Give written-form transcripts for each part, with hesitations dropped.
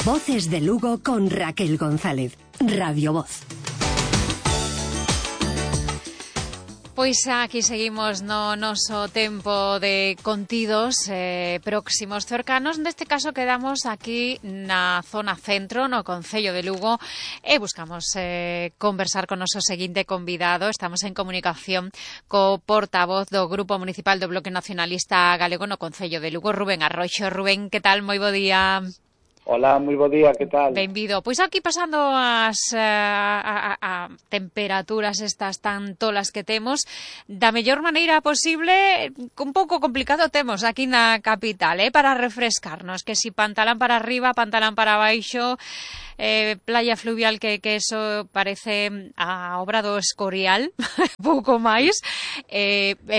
Voces de Lugo con Raquel González, Radio Voz. Pois aquí seguimos no noso tempo de contidos próximos cercanos. Neste caso quedamos aquí na zona centro, no Concello de Lugo, e buscamos conversar con o noso seguinte convidado. Estamos en comunicación co portavoz do Grupo Municipal do Bloque Nacionalista Galego no Concello de Lugo, Rubén Arroxo. Rubén, que tal? Moi bo día. Hola, moi bo día, que tal? Benvido. Pois aquí pasando as temperaturas estas tan tolas que temos, da mellor maneira posible, un pouco complicado temos aquí na capital, para refrescarnos, que si pantalán para arriba, pantalán para baixo, playa fluvial que eso parece a obra do Escorial, pouco máis,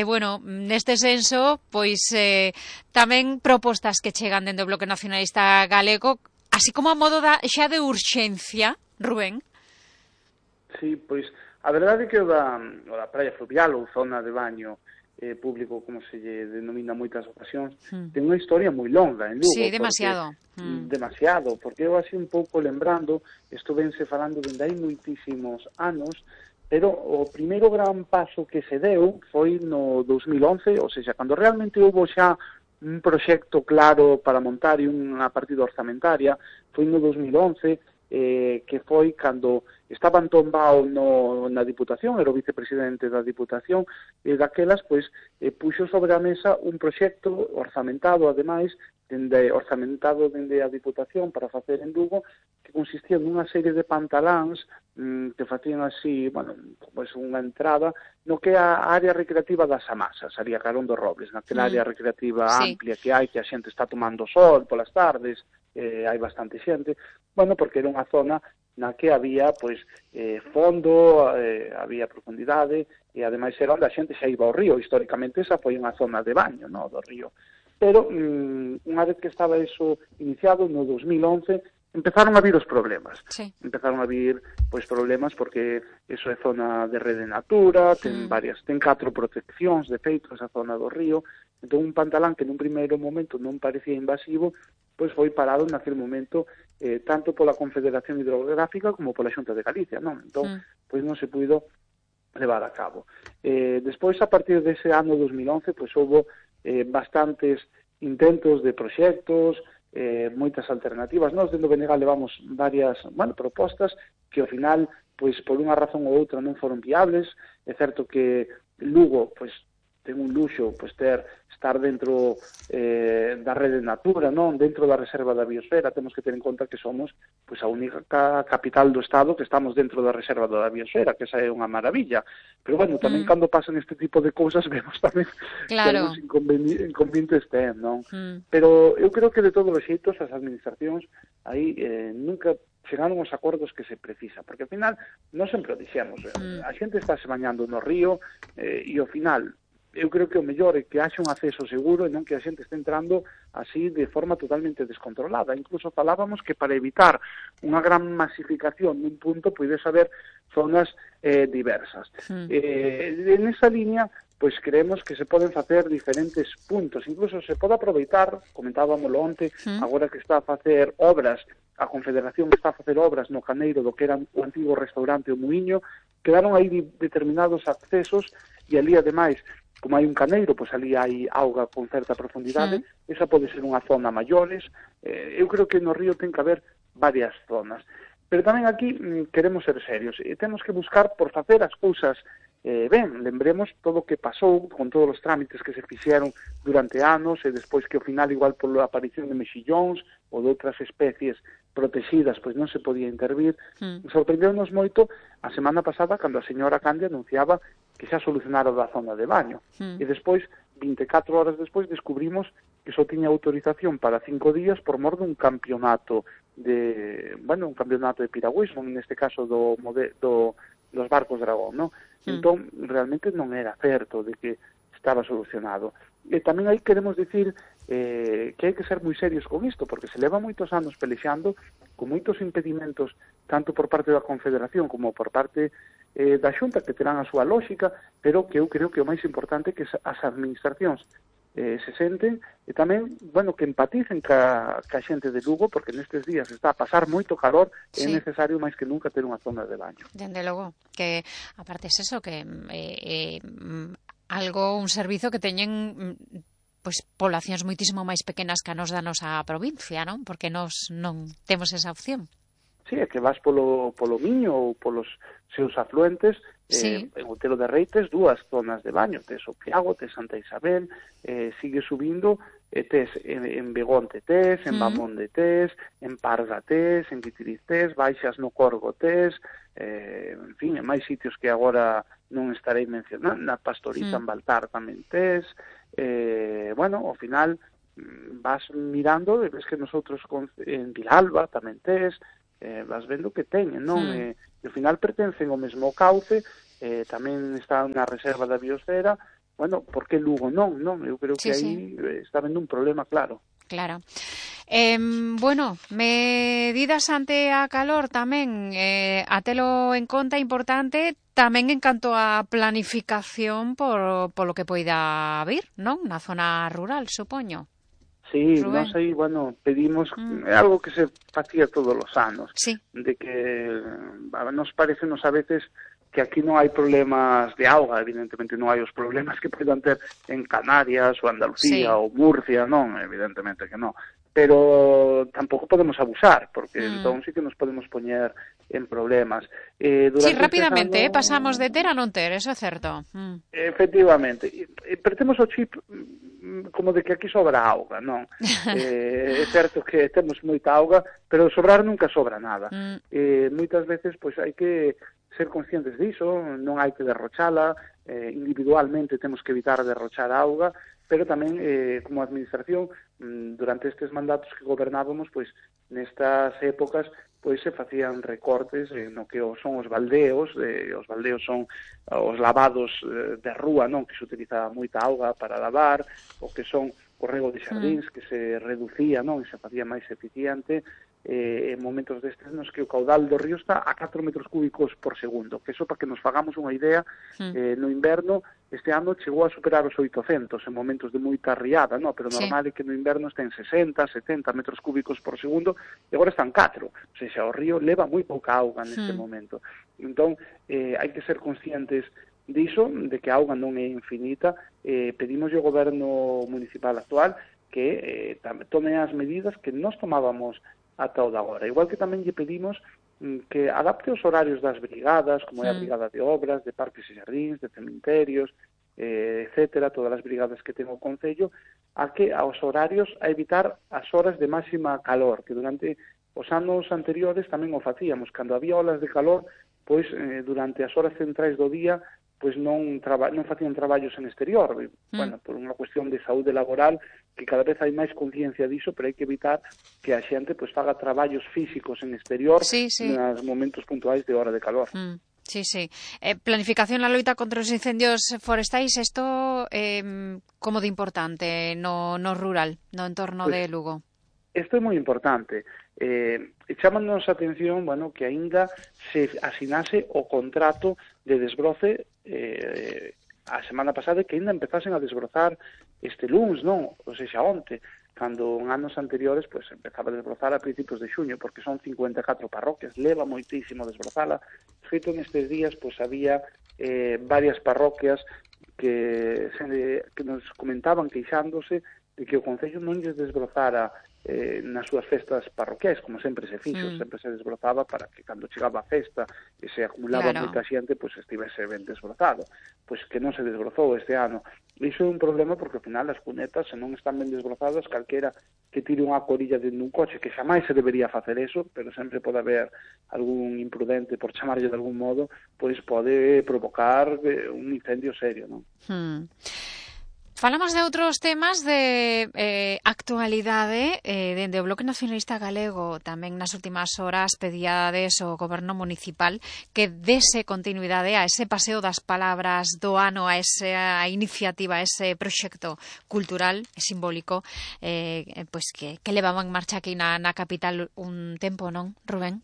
bueno, neste senso, pois tamén propostas que chegan dentro do Bloque Nacionalista Galego, así como a modo xa de urxencia, Rubén. Sí, pois a verdade é que o da praia fluvial ou zona de baño público, como se lle denomina moitas ocasións, ten unha historia moi longa en Lugo. Sí, demasiado. Demasiado, porque eu así un pouco lembrando, isto vense falando dende hai moitísimos anos, pero o primeiro gran paso que se deu foi no 2011, ou seja, cando realmente houve xa un proxecto claro para montar e unha partida orzamentaria, foi no 2011, que foi cando estaba Antón Bao na Diputación, era o vicepresidente da Diputación, e daquelas, pois, puxo sobre a mesa un proxecto orzamentado, ademais, orzamentado dende a Diputación para facer en Lugo, que consistía nunha serie de pantaláns que facían así, bueno, pois unha entrada no que é a área recreativa das Amasas, ali a Carón dos Robles, naquela área recreativa amplia que hai, que a xente está tomando sol polas tardes, hai bastante xente, bueno, porque era unha zona na que había, pois, fondo, había profundidade, e ademais era onde a xente xa iba ao río. Históricamente esa foi unha zona de baño, no, do río. Pero, unha vez que estaba eso iniciado, no 2011, empezaron a vir os problemas. Sí. Empezaron a vir, pois, problemas porque eso é zona de rede natura, ten 4 proteccións, de feito, esa zona do río. Entón, un pantalán que nun primeiro momento non parecía invasivo, pois foi parado naquele momento tanto pola Confederación Hidrográfica como pola Xunta de Galicia, non? Entón, pois non se puido levar a cabo. Despois, a partir dese ano 2011, pois houve bastantes intentos de proxectos, moitas alternativas. Nós, dentro do Benegal, levamos varias, propostas que, ao final, pois, por unha razón ou outra non foron viables. É certo que Lugo, pois, ten un luxo, pois, estar dentro da rede natura, non? Dentro da reserva da biosfera. Temos que ter en conta que somos, pois, a única capital do Estado que estamos dentro da reserva da biosfera, que esa é unha maravilla. Pero, bueno, tamén cando pasan este tipo de cousas, vemos tamén que os inconvenientes non? Pero eu creo que, de todos os xeitos, as administracións aí nunca chegaron aos acordos que se precisa, porque, ao final, non sempre o dixemos. A xente está se bañando no río e, ao final, eu creo que o mellor é que haxa un acceso seguro e non que a xente este entrando así de forma totalmente descontrolada. Incluso falábamos que para evitar unha gran masificación nun punto podes haber zonas diversas. En esa línea, pois creemos que se poden facer diferentes puntos. Incluso se pode aproveitar, comentábamoslo onte, agora que está a facer obras, a Confederación está a facer obras no Caneiro do que era o antigo restaurante O Muiño, quedaron aí determinados accesos e ali, ademais, como hai un caneiro, pois ali hai auga con certa profundidade, esa pode ser unha zona maiores. Eu creo que no río ten que haber varias zonas. Pero tamén aquí queremos ser serios e temos que buscar por facer as cousas ben. Lembremos todo o que pasou con todos os trámites que se fixeron durante anos e despois que ao final, igual pola aparición de mexillóns ou de outras especies protegidas, pois non se podía intervir. Sorprendeu-nos moito a semana pasada cando a señora Candia anunciaba que xa solucionara da zona de baño. E despois, 24 horas despois, descubrimos que só tiña autorización para 5 días por mor dun campeonato un campeonato de piragüismo, neste caso dos barcos dragón, non? Entón, realmente non era certo de que estaba solucionado. E tamén aí queremos dicir que hai que ser moi serios con isto, porque se leva moitos anos pelexando con moitos impedimentos, tanto por parte da Confederación como por parte da Xunta, que terán a súa lógica, pero que eu creo que o máis importante é que as administracións se senten, e tamén, bueno, que empaticen ca xente de Lugo, porque nestes días está a pasar moito calor, é necesario máis que nunca ter unha zona de baño. Dende logo, que aparte es eso, que un servizo que teñen pois poblacións moitísimo máis pequenas que a nos da nosa provincia, non? Porque nos non temos esa opción. Sí, é que vas polo Miño ou polos seus afluentes, en Outeiro de Rei tes dúas zonas de baño, tes o Piago, tes Santa Isabel, sigue subindo, tes en Begonte tes, en Bamonde tes, en Parga tes, en Vitiriz tes, baixas no Corgo tes, en fin, en máis sitios que agora non estarei mencionando, na Pastoriza en Baltar tamén tes, bueno, ao final vas mirando e ves que nosotros en Vilalba tamén tes, vas vendo que teñen, non? E ao final pertencen ao mesmo cauce, tamén está na reserva da biosfera, bueno, por que Lugo non? Eu creo que aí está vendo un problema claro. Claro. Bueno, medidas ante a calor tamén, a telo en conta importante, tamén en canto a planificación polo que poida vir, non? Na zona rural, supoño. Sí, nós aí, bueno, pedimos algo que se facía todos os anos, de que nos parecenos a veces que aquí non hai problemas de auga, evidentemente non hai os problemas que poden ter en Canarias ou Andalucía ou Murcia, non, evidentemente que non, pero tampouco podemos abusar, porque entón sí que nos podemos poñer en problemas. Sí, rapidamente, pasamos de ter a non ter, eso é certo. Efectivamente, pero temos o chip como de que aquí sobra auga, non? É certo que temos moita auga, pero sobrar nunca sobra nada. Moitas veces pois hai que ser conscientes diso, non hai que derrochala, individualmente temos que evitar derrochar auga, pero tamén como administración, durante estes mandatos que gobernábamos, pois nestas épocas pois se facían recortes no que son os baldeos, os baldeos son os lavados de rúa, non, que se utilizaba moita auga para lavar, o que son o rego de xardíns, que se reducía, non, e se facía máis eficiente, en momentos destes nos que o caudal do río está a 4 metros cúbicos por segundo, que eso para que nos fagamos unha idea, no inverno este ano chegou a superar os 800 en momentos de moita riada, no? Pero normal é que no inverno estén 60, 70 metros cúbicos por segundo e agora están 4, o sea, o río leva moi pouca auga neste momento. Entón, hai que ser conscientes diso, de que a auga non é infinita, pedimos ao goberno municipal actual que tome as medidas que nós tomábamos ata o de agora. Igual que tamén lle pedimos que adapte os horarios das brigadas, como é a brigada de obras, de parques e xardíns, de cementerios, etcétera, todas as brigadas que ten o Concello, aos horarios a evitar as horas de máxima calor, que durante os anos anteriores tamén o facíamos. Cando había olas de calor, pois durante as horas centrais do día pois non facían traballos en exterior, bueno, por unha cuestión de saúde laboral, que cada vez hai máis conciencia diso, pero hai que evitar que a xente pois faga traballos físicos en exterior nos momentos puntuais de hora de calor. Sí. Planificación na loita contra os incendios forestais, isto como de importante no rural, no entorno de Lugo? Isto é moi importante. Chámanos a atención, bueno, que aínda se asinase o contrato de desbroce a semana pasada, que aínda empezasen a desbrozar este luns, non? Ou seja, onte, cando en anos anteriores pois empezaba a desbrozar a principios de xuño, porque son 54 parroquias, leva moitísimo desbrozala. Feito nestes días, pois había varias parroquias que nos comentaban queixándose de que o Concello non lles desbrozara nas súas festas parroquiais, como sempre se fixo, sempre se desbrozaba para que cando chegaba a festa e se acumulaba moita xente, pois estivese ben desbrozado. Pois que non se desbrozou este ano. Iso é un problema porque ao final as cunetas, se non están ben desbrozadas, calquera que tire unha corilla dentro dun coche, que xamais se debería facer eso, pero sempre pode haber algún imprudente, por chamarlle de algún modo, pois pode provocar un incendio serio, non? Falamos de outros temas de actualidade dende o Bloque Nacionalista Galego. Tamén nas últimas horas pedíades ao Goberno Municipal que dese continuidade a ese paseo das palabras do ano, a esa iniciativa, a ese proxecto cultural e simbólico pois que levaban en marcha aquí na capital un tempo, non, Rubén?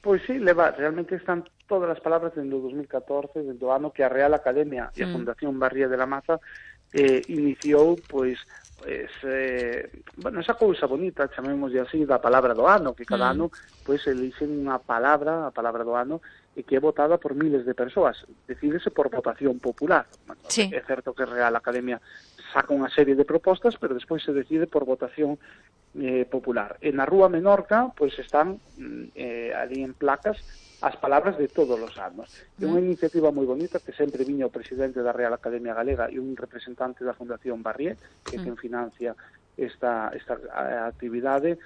Pois sí, realmente están todas as palabras dende o 2014, dende o ano que a Real Academia e a Fundación Barría de la Maza iniciou, pois, esa cousa bonita, chamémoslle así, da palabra do ano, que cada ano pois elixen unha palabra, a palabra do ano, e que é votada por miles de persoas. Decídese por votación popular. Sí. É certo que Real Academia saca unha serie de propostas, pero despois se decide por votación popular. E na Rúa Menorca, pois están ali en placas as palabras de todos os anos. É unha iniciativa moi bonita que sempre viña o presidente da Real Academia Galega e un representante da Fundación Barrié, que quen financia esta actividade,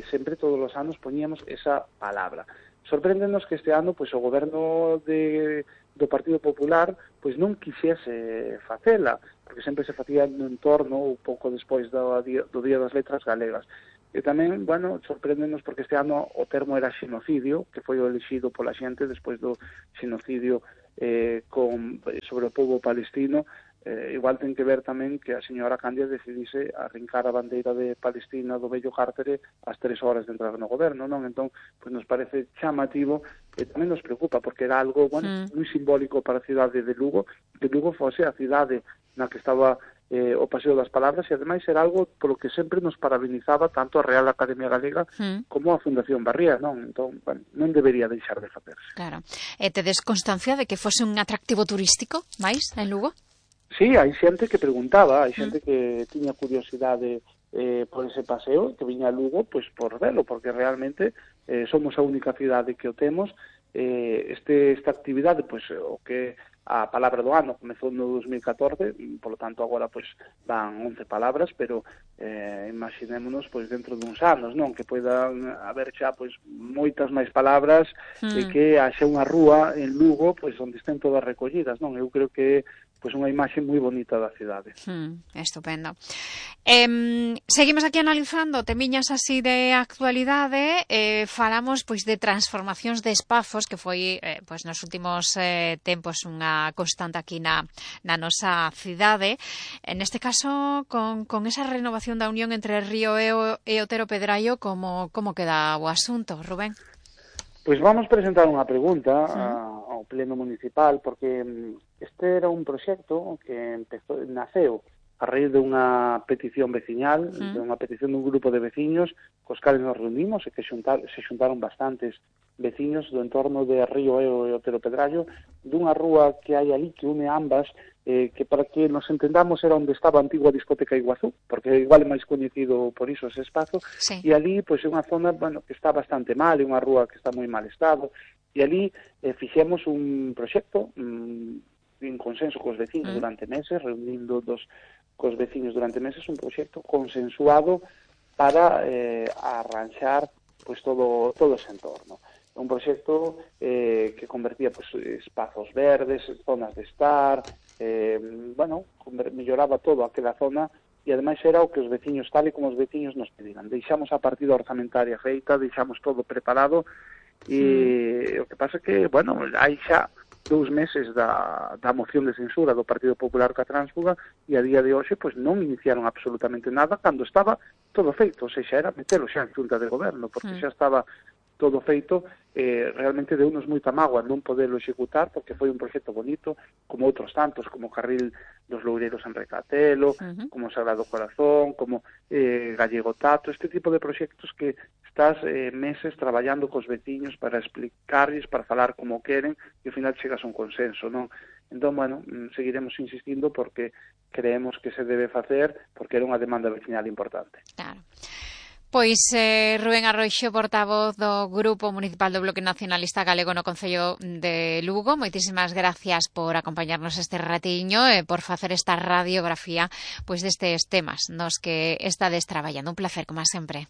sempre todos os anos poñíamos esa palabra. Sorpréndenos que este ano pois o goberno do Partido Popular pois non quixese facela, porque sempre se facía no entorno ou pouco despois do Día das Letras Galegas. E tamén, sorpréndenos porque este ano o termo era xenocidio, que foi o elixido pola xente despois do xenocidio sobre o povo palestino. Igual ten que ver tamén que a señora Candia decidise arrincar a bandeira de Palestina do vello Cárcere ás 3 horas de entrar no goberno, non? Entón, pois nos parece chamativo e tamén nos preocupa, porque era algo, moi simbólico para a cidade de Lugo, que Lugo fose a cidade na que estaba o Paseo das Palabras, e ademais era algo polo que sempre nos parabenizaba tanto a Real Academia Galega como a Fundación Barrié, non? Entón, non debería deixar de facerse. Claro. Tedes constancia de que fose un atractivo turístico máis en Lugo? Sí, hai xente que preguntaba, hai xente que tiña curiosidade por ese paseo, que viña a Lugo, pois por velo, porque realmente somos a única cidade que o temos. Esta actividade, pois o que a palabra do ano comezou no 2014, polo tanto agora pois van 11 palabras, pero imaginémonos pois dentro duns anos, non, que poidan haber xa pois moitas máis palabras e que haxa unha rúa en Lugo pois onde estén todas recollidas, non? Eu creo que pois unha imaxe moi bonita da cidade. Estupendo. Seguimos aquí analizando temiñas así de actualidade, falamos pois de transformacións de espazos que foi pois nos últimos tempos unha constante aquí na nosa cidade. En este caso con esa renovación da unión entre Río e Otero Pedraio, como queda o asunto, Rubén? Pois vamos presentar unha pregunta ao Pleno Municipal, porque este era un proxecto que naceu a raíz de unha petición veciñal, de unha petición dun grupo de veciños cos cales nos reunimos e que se xuntaron bastantes veciños do entorno de Río e Otero Pedraio, dunha rúa que hai ali que une ambas, que para que nos entendamos era onde estaba a antigua discoteca Iguazú, porque igual é máis coñecido por iso ese espazo, e ali pois é unha zona que está bastante mal, é unha rúa que está moi mal estado, e ali fixemos un proxecto en consenso cos veciños durante meses, reunindo cos veciños durante meses, un proxecto consensuado para arranxar pois todo ese entorno. Un proxecto que convertía pois espazos verdes, zonas de estar, melloraba todo aquela zona e ademais era o que os veciños, tal e como os veciños nos pediran. Deixamos a partida orzamentaria feita, deixamos todo preparado e o que pasa é que, hai xa 2 meses da moción de censura do Partido Popular ca Tránsfuga e a día de hoxe pois non iniciaron absolutamente nada cando estaba todo feito, ou seja, era metelo xa en xunta de goberno, porque xa estaba todo feito. Realmente deu-nos moita mágoa non poderlo executar, porque foi un proxecto bonito, como outros tantos, como Carril dos Loureiros en Recatelo, como Sagrado Corazón, como Gallego Tato, este tipo de proxectos que estás meses traballando cos veciños para explicarles, para falar como queren, e ao final chegas a un consenso, non? Entón, seguiremos insistindo porque creemos que se debe facer, porque era unha demanda veciñal importante. Claro. Pois Rubén Arroixo, portavoz do Grupo Municipal do Bloque Nacionalista Galego no Concello de Lugo, moitísimas gracias por acompañarnos este ratiño e por facer esta radiografía pois destes temas nos que estades traballando. Un placer, como sempre.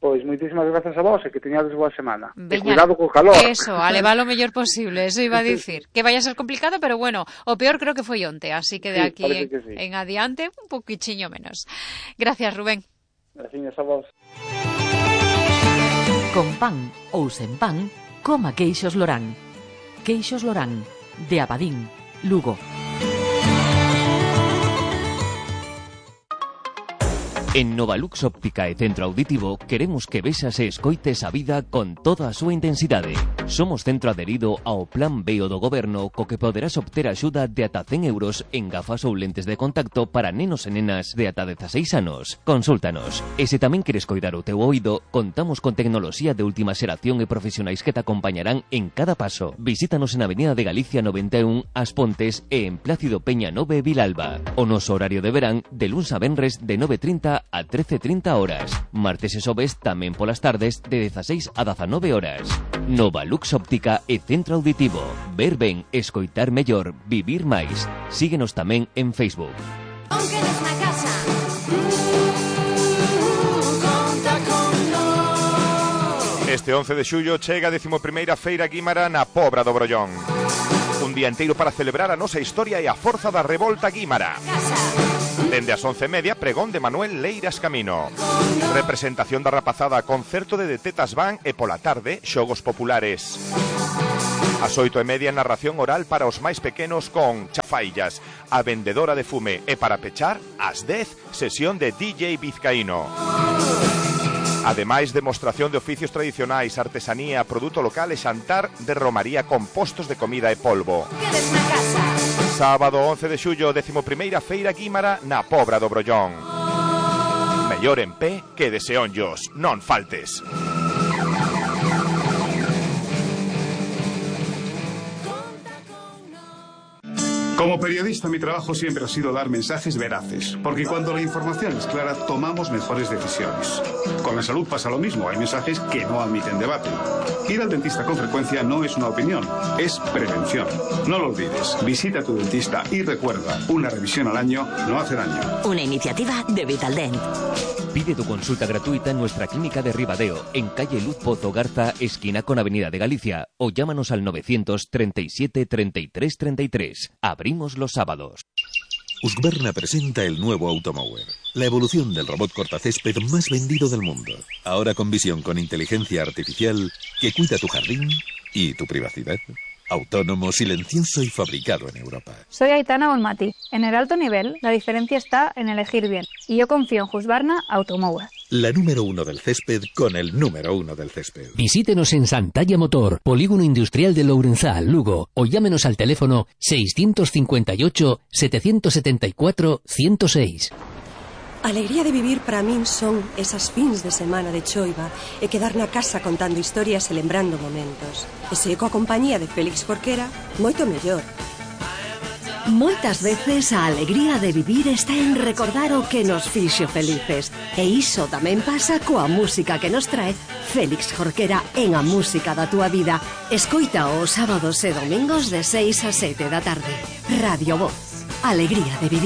Pois moitísimas grazas a vos e que teñades boa semana. E cuidado co calor. Eso, a levar o mellor posible, eso iba a dicir. Que vai a ser complicado, pero bueno, o peor creo que foi onte, así que de aquí en adiante un poquichiño menos. Gracias, Rubén. Gracias a vos. Con pan ou sen pan, coma Queixos Lorán. Queixos Lorán, de Abadín, Lugo. En Novalux Óptica e Centro Auditivo queremos que vexas e escoites a vida con toda a súa intensidade. Somos centro adherido ao Plan B do Goberno, co que poderás obter axuda de ata 100 euros en gafas ou lentes de contacto para nenos e nenas de ata 16 anos. Consúltanos. E se tamén queres coidar o teu oído, contamos con tecnoloxía de última xeración e profesionais que te acompañarán en cada paso. Visítanos en Avenida de Galicia 91, As Pontes e en Plácido Peña 9, Vilalba. O noso horario de verán de luns a venres de 9:30 a 13:30 horas. Martes e xoves tamén polas tardes de 16 a 19 horas. Novalux Óptica e Centro Auditivo. Ver ben, escoitar mellor, vivir máis. Síguenos tamén en Facebook. Este 11 de xullo chega a 11ª Feira Guímara na Pobra do Brollón. Un día inteiro para celebrar a nosa historia e a forza da revolta guímara. Dende as 11:30, pregón de Manuel Leiras Camino. Representación da rapazada, concerto de Tetas Van e pola tarde, xogos populares. As 8:30, narración oral para os máis pequenos con Chafaillas, a vendedora de fume, e para pechar, ás 10, sesión de DJ Vizcaíno. Ademais, demostración de oficios tradicionais, artesanía, produto local e xantar de romaría con postos de comida e polvo. Sábado 11 de xullo, 11ª Feira Guímara na Pobra do Brollón. Mellor en pé que de seonllos, non faltes. Como periodista, mi trabajo siempre ha sido dar mensajes veraces, porque cuando la información es clara, tomamos mejores decisiones. Con la salud pasa lo mismo, hay mensajes que no admiten debate. Ir al dentista con frecuencia no es una opinión, es prevención. No lo olvides, visita a tu dentista y recuerda, una revisión al año no hace daño. Una iniciativa de Vitaldent. Pide tu consulta gratuita en nuestra clínica de Ribadeo, en calle Luz Pozo Garza, esquina con Avenida de Galicia, o llámanos al 937 33 33. Abrimos los sábados. Husqvarna presenta el nuevo Automower, la evolución del robot cortacésped más vendido del mundo. Ahora con visión con inteligencia artificial que cuida tu jardín y tu privacidad. Autónomo, silencioso y fabricado en Europa. Soy Aitana Bonmati. En el alto nivel, la diferencia está en elegir bien. Y yo confío en Husqvarna Automower. La número 1 del césped con el número 1 del césped. Visítenos en Santalla Motor, Polígono Industrial de Lourenzá, Lugo, o llámenos al teléfono 658 774 106. A alegría de vivir para min son esas fins de semana de choiva e quedar na casa contando historias e lembrando momentos. E se coa compañía de Félix Jorquera, moito mellor. Moitas veces a alegría de vivir está en recordar o que nos fixo felices. E iso tamén pasa coa música que nos trae Félix Jorquera en A Música da Túa Vida. Escoita os sábados e domingos de 6 a 7 da tarde. Radio Voz. Alegría de vivir.